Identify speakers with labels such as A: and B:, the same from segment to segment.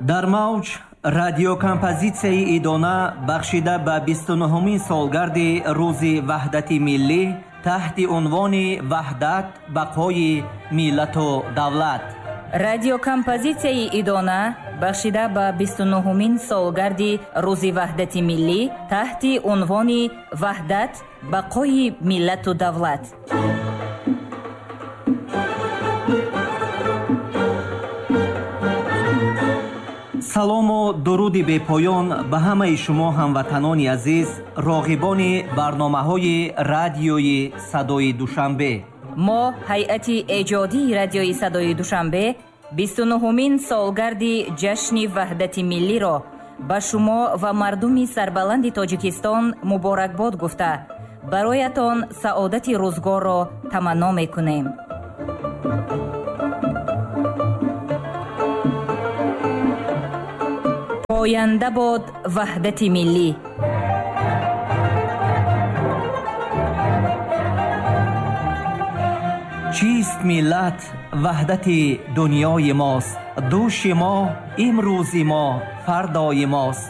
A: Дар мавҷ радиокомпозитсияи идона бахшида ба 29-умин солгарди Рӯзи Ваҳдати Миллӣ таҳти унвони «Ваҳдат бақои миллату давлат».
B: Радиокомпозитсияи идона бахшида ба 29-умин солгарди Рӯзи Ваҳдати Миллӣ таҳти унвони «Ваҳдат бақои миллату давлат».
A: Салому дуруди бепоён ба ҳамаи шумо ҳамватанони азиз, роғибони барномаҳои радиои Садои Душанбе.
B: Мо ҳайати эҷодии радиои Садои Душанбе 29-умин солгарди ҷашни Ваҳдати Миллиро ба шумо ва мардуми сарбаланди Тоҷикистон муборакбод гуфта, бароятон саодати рӯзгорро таманно мекунем. Поянда бод ваҳдати миллӣ.
A: Чист миллат? Ваҳдати дунёи мост. Дӯши мо, имрӯзи мо, фардои мост.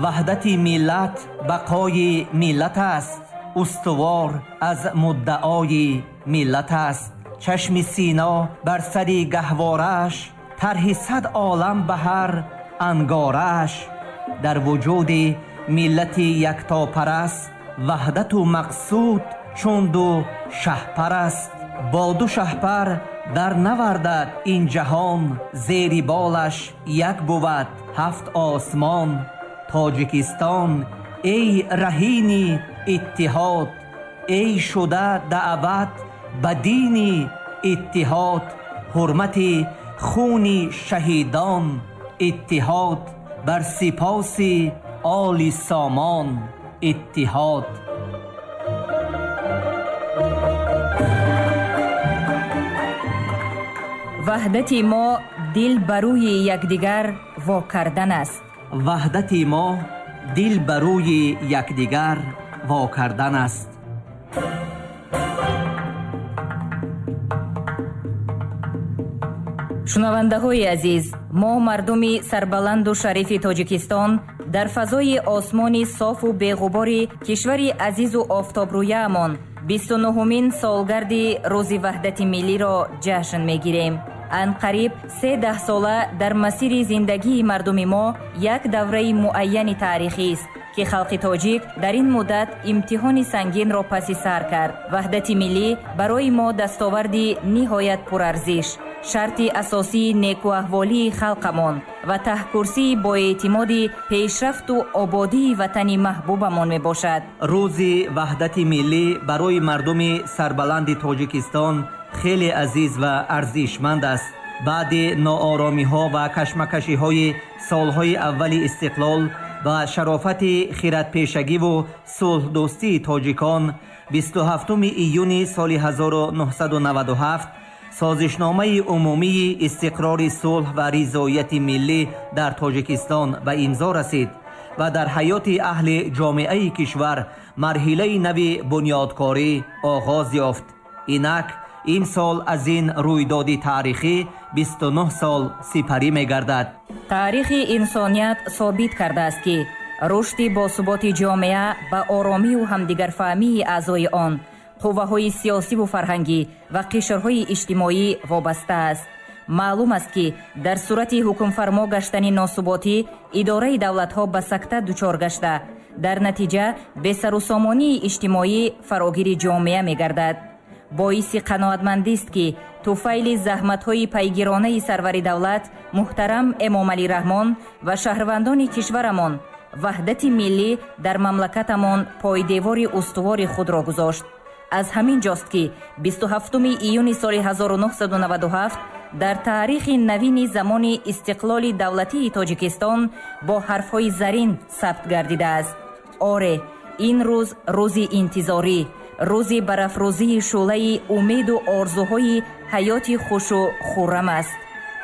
A: Ваҳдати миллат бақои миллат аст. Устувор аз муддаои миллат аст. Чашми сино бар сари гаҳворааш, тарҳи сад олам ба ҳар ангорааш. Дар вуҷуди миллати яктопараст, ваҳдату мақсуд чун ду шаҳпараст. Бо ду шаҳпар дар навардад ин ҷаҳон, зери болаш як бувад ҳафт осмон. Тоҷикистон, эй раҳини иттиҳод, эй шуда даъват ба дини иттиҳод, ҳурмати хуни шаҳидон, иттиҳод бар сипоси оли сомон, иттиҳод.
B: Ваҳдати мо дил ба рӯи якдигар во кардан аст.
A: Ваҳдати мо дил ба рӯи якдигар во кардан аст.
B: Шунавандаҳои азиз, мо мардуми сарбаланду шарифи Тоҷикистон дар фазои осмони софу беғубори кишвари азизу офтобрӯяамон 29-умин солгарди Рӯзи Ваҳдати Миллиро ҷашн мегирем. Анқариб се даҳсола дар масири зиндагии мардуми мо як давраи муайяни таърихист, ки халқи тоҷик дар ин муддат имтиҳони сангинро паси сар кард. Ваҳдати миллӣ барои мо дастоварди ниҳоят пурарзиш, шарти асосии некуаҳволии халқамон ва таҳкурсии боэътимоди пешрафту ободии ватани маҳбубамон мебошад.
A: Рӯзи Ваҳдати Миллӣ барои мардуми сарбаланди Тоҷикистон хеле азиз ва арзишманд аст. Баъди нооромиҳо ва кашмакашиҳои солҳои аввали истиқлол ба шарофати хиратпешагиву сулҳдӯстии тоҷикон 27 июни соли 1997 созишномаи умумии истиқрори сулҳ ва ризояти миллӣ дар Тоҷикистон ба имзо расид ва дар ҳаёти аҳли ҷомеаи кишвар марҳилаи нави бунёдкорӣ оғоз ёфт. Инак имсол аз ин рӯйдоди таърихӣ 29 сол сипарӣ мегардад.
B: Таърихи инсоният собит кардааст, ки рушди босуботи ҷомеа ба оромию ҳамдигарфаҳмии аъзои он, қувваҳои сиёсиву фарҳангӣ ва қишрҳои иҷтимоӣ вобаста аст. Маълум аст, ки дар сурати ҳукмфармо гаштани носуботӣ идораи давлатҳо ба сакта дучор гашта, дар натиҷа бесарусомонии иҷтимоӣ фарогири ҷомеа мегардад. Боиси қаноатмандист, ки туфайли заҳматҳои пайгиронаи сарвари давлат муҳтарам Эмомалӣ Раҳмон ва шаҳрвандони кишварамон ваҳдати миллӣ дар мамлакатамон пойдевори устувори худро гузошт. Аз ҳамин ҷост, ки 27 июни соли 1997 дар таърихи навини замони истиқлоли давлатии Тоҷикистон бо ҳарфҳои зарин сабт гардидааст. Оре, ин рӯз рӯзи интизорӣ, рӯзи барафрӯзии шӯълаи умеду орзуҳои ҳаёти хушу хуррам аст.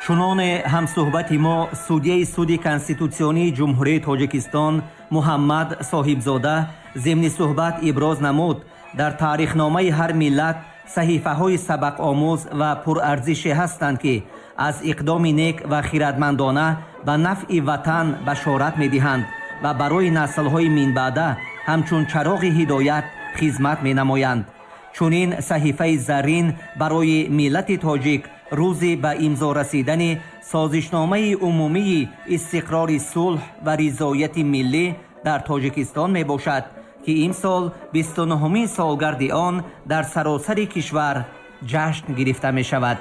A: Чуноне ҳамсӯҳбати мо судяи суди конститутсионии Ҷумҳурии Тоҷикистон Муҳаммад Соҳибзода зимни суҳбат иброз намуд, дар таърихномаи ҳар миллат саҳифаҳои сабақомӯз ва пурарзише ҳастанд, ки аз иқдоми нек ва хиратмандона ба нафъи ватан башорат медиҳанд ва барои наслҳои минбаъда ҳамчун чароғи ҳидоят хизмат менамоянд. Чунин саҳифаи заррин барои миллати тоҷик рӯзи ба имзо расидани созишномаи умумии истиқрори сулҳ ва ризояти миллӣ дар Тоҷикистон мебошад, ки имсол 29-умин солгарди он дар саросари кишвар ҷашн гирифта мешавад.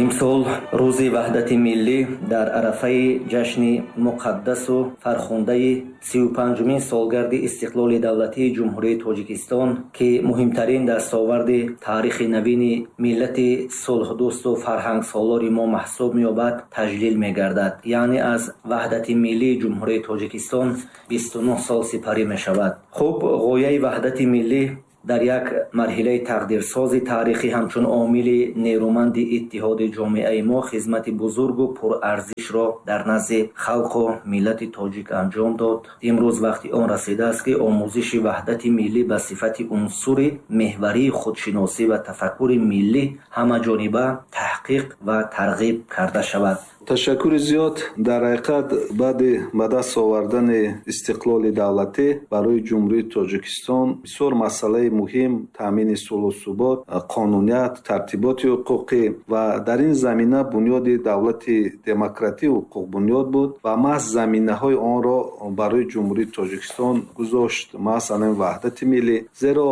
C: Имсол рӯзи ваҳдати миллӣ дар арафаи ҷашни муқаддасу фархундаи 35-умин солгарди истиқлоли давлатии Ҷумҳурии Тоҷикистон, ки муҳимтарин дастоварди таърихи навини миллати сулҳдӯсту фарҳангсолори мо маҳсуб меёбад, таҷлил мегардад. Яъне аз ваҳдати миллии Ҷумҳурии Тоҷикистон 29 сол сипарӣ мешавад. Хуб, ғояи ваҳдати миллӣ дар як марҳилаи тақдирсози таърихӣ ҳамчун омили нерӯманди иттиҳоди ҷомеаи мо хизмати бузургу пурарзишро дар назди халқу миллати тоҷик анҷом дод. Имрӯз вақти он расидааст, ки омӯзиши ваҳдати миллӣ ба сифати унсури меҳварии худшиносӣ ва тафаккури миллӣ ҳамаҷониба таҳқиқ ва тарғиб карда шавад.
D: Ташаккури зиёд. Дар ҳақиқат, баъди ба даст овардани истиқлоли давлатӣ барои Ҷумҳурии Тоҷикистон бисёр масъалаи муҳим таъмини сулҳу субот, қонуният, тартиботи ҳуқуқӣ ва дар ин замина бунёди давлати демократию ҳуқуқбунёд буд ва маҳз заминаҳои онро барои Ҷумҳурии Тоҷикистон гузошт маҳз ҳамин ваҳдати миллӣ. Зеро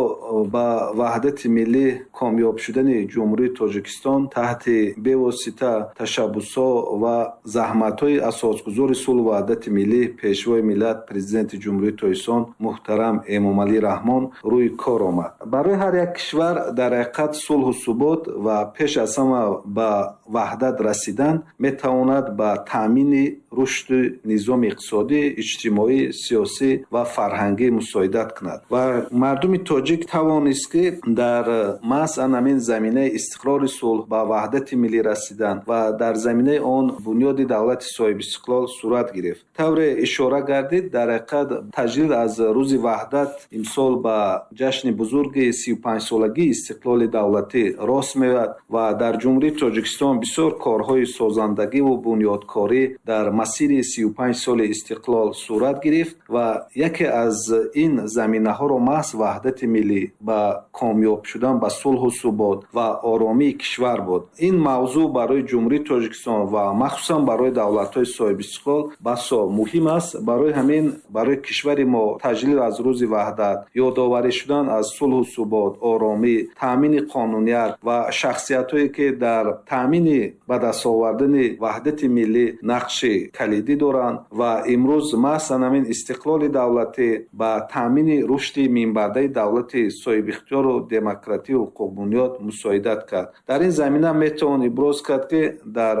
D: ба ваҳдати миллӣ комёб шудани Ҷумҳурии Тоҷикистон таҳти бевосита ташаббусҳо ва заҳматҳои асосгузори сулҳу ваҳдати миллӣ, Пешвои миллат, Президенти Ҷумҳурии Тоҷикистон муҳтарам Эмомалӣ Раҳмон рӯи кор омад. Барои ҳар як кишвар дар ҳақиқат сулҳу субот ва пеш аз ҳама ба ваҳдат расидан метавонад ба таъмини рушди низоми иқтисодӣ, иҷтимоӣ, сиёсӣ ва фарҳангӣ мусоидат кунад. Ва мардуми тоҷик тавонист, ки дар маҳз ҳамин заминаи истиқрори сулҳ ба ваҳдати миллӣ расидан ва дар заминаи он бунёди давлати соҳибистиқлол сурат гирифт. Тавре ишора гардид, дар ҳақиқат таҷлил аз рӯзи ваҳдат имсол ба ҷашни бузурги 35-солагии истиқлоли давлатӣ рост меояд ва дар Ҷумҳурии Тоҷикистон бисёр корҳои созандагиву бунёдкорӣ дар масири 35 соли истиқлол сурат гирифт ва яке аз ин заминаҳоро маҳз ваҳдати миллӣ ба комёб шудан ба сулҳу субот ва оромии кишвар буд. Ин мавзӯъ барои Ҷумҳурии Тоҷикистон ва махсусан барои давлатҳои соҳибистиқлол басо муҳим аст. Барои ҳамин барои кишвари мо таҷлил аз рӯзи ваҳдат, ёдоварӣ шудан аз сулҳу субот, оромӣ, таъмини қонуният ва шахсиятҳое ки дар таъмини ба даст овардани ваҳдати миллӣ нақши калидӣ доранд ва имрӯз маҳз ҳамин истиқлоли давлатӣ ба таъмини рушди минбаъдаи давлати соҳибихтиёру демократию ҳуқуқбунёд мусоидат кард. Дар ин замина метавон иброз кард, ки дар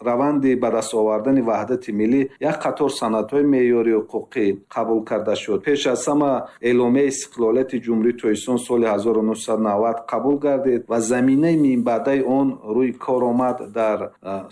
D: раванди ба даст овардани ваҳдати миллӣ як қатор санадҳои меъёрии ҳуқуқӣ қабул карда шуд. Пеш аз ҳама эъломияи истиқлолияти Ҷумҳурии Тоҷикистон соли 1990 қабул гардид ва заминаи минбаъдаи он рӯи кор омад дар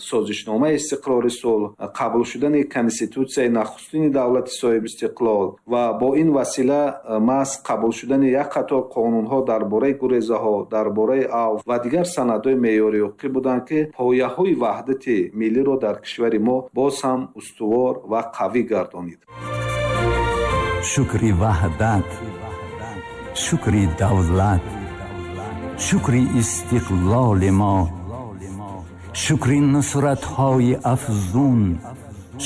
D: созишномаи истиқрори сулҳ, қабул шудани конститутсияи нахустини давлати соҳибистиқлол ва бо ин васила маҳз қабул шудани як қатор қонунҳо дар бораи гурезаҳо, дар бораи авф ва дигар санадҳои меъёрии ҳуқуқӣ буданд, ки пояҳои ваҳдати миллиро дар кишвари мо боз ҳам устувор ва қавӣ гардонид.
E: Шукри ваҳдат, шукри давлат, шукри истиқлоли мо, шукри нусратҳои афзун,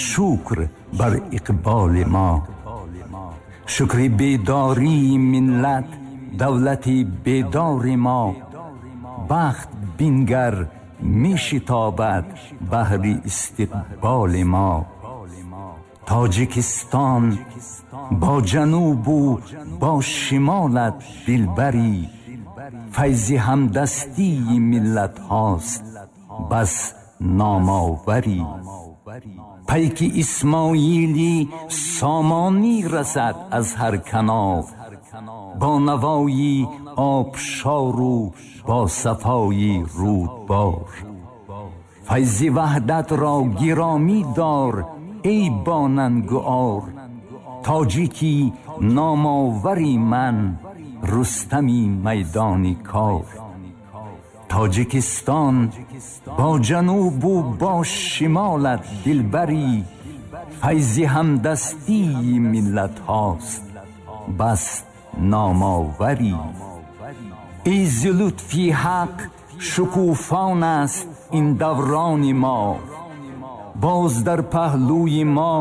E: шукр бар иқболи мо, шукри бедории миллат, давлати бедори мо, бахт бингар мешитобад баҳри истиқболи мо. Тоҷикистон бо ҷанубу бо шимолат дилбарӣ, файзи ҳамдастии миллатҳост бас номоварӣ. Пайки Исмоили Сомонӣ расад аз ҳар канор, бо навои обшору бо сафои рӯдбор. Файзи ваҳдатро гиромӣ дор эй бонангу ор, тоҷики номовари ман, Рустами майдони кор. Тоҷикистон бо ҷанубу бо шимолат дилбарӣ, файзи ҳамдастии миллатҳост бас номоварӣ. Эй зи лутфи ҳақ шукуфон аст ин даврони мо, боз дар паҳлӯи мо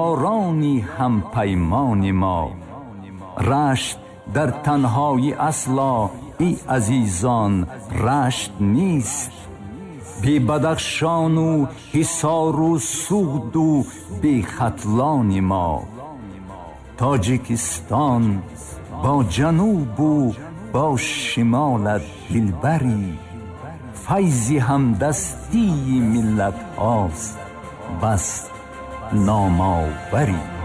E: ёрони ҳампаймони мо. Рашт дар танҳоӣ асло эй азизон рашт нест, бе Бадахшону Ҳисору Суғду бе Хатлони мо. Тоҷикистон бо ҷанубу бо шимолат дилбарӣ, файзи ҳамдастии миллатҳост бас номоварӣ.